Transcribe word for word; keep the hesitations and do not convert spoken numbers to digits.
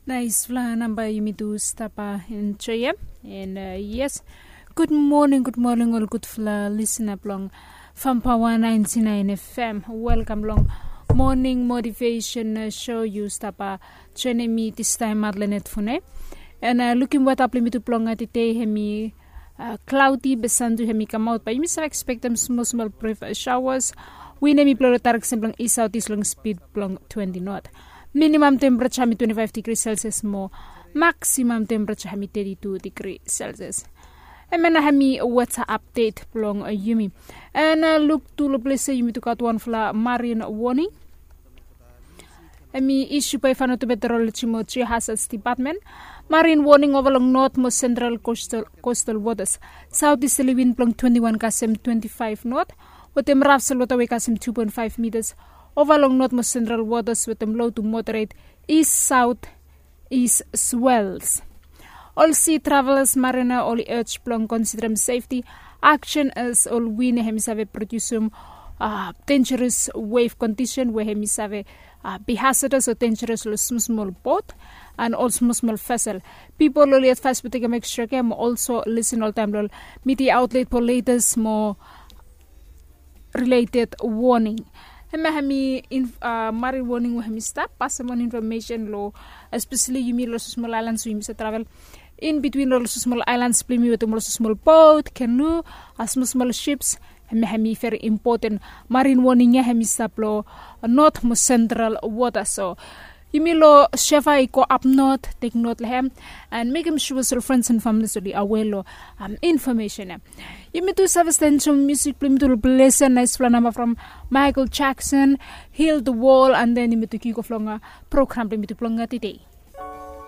Naisfala namba yumi tu stap enjoyem. And uh, yes, good morning, good morning ol gudfala lisina blong Fampawa ninety nine F M. Welcome long morning motivation uh, show. Yu stap joining me this time Madeleine Fune. And uh, lukim weta blong yumi tu blong uh, today hemi uh, cloudy be sun tu hemi kamaut, but yumi save expectem small small brief uh, showers. Wind hemi blow lo direction blong east southeast long speed blong twenty knot. Minimum temperature hemi twenty five degree Celsius mo maximum temperature hemi thirty two degree Celsius. Hemia nao hemi weather update blong uh, yumi. And uh, luk tu lo ples ia yumi tu gat wanfala marine warning. Hemi issue by Vanuatu Meteorology mo Geohazards Department. Marine warning ova long north mo central coastal, coastal waters. Southeasterly wind blong twenty one kasem twenty five knot. Wetem rough seawater wave kasem two point five meters. Ova long north mo central waters wetem low to moderate east south east swells. Ol sea travelers marina oli urge blong considerem safety action as ol wind hemi save produce uh, dangerous wave condition we hemi save uh, be hazardous or dangerous lo small small boat and ol small small vessel. People oli advice blong tekem extra care mo also listen oltaem lo media outlet for latest mo related warning. Hemia hemi uh, marine warning we hemi stap pasem on information lo especially yumi lo small islands we yumi sa travel in between lo small islands blong yumi wetem lo small boat, canoe, uh, small small ships. Hemia hemi very important. Marine warning ia hemi stap lo north mo central water. So yumi lo shefa i go up north, take note lo hem and mekem sure ol friends and families oli aware lo um, information ia. Yumi tu save stensom music blong yumi tu lo blesa naisfala namba from Michael Jackson, Heal the World, and then yumi tu kick off long uh, program blong yumi tu blong uh, today.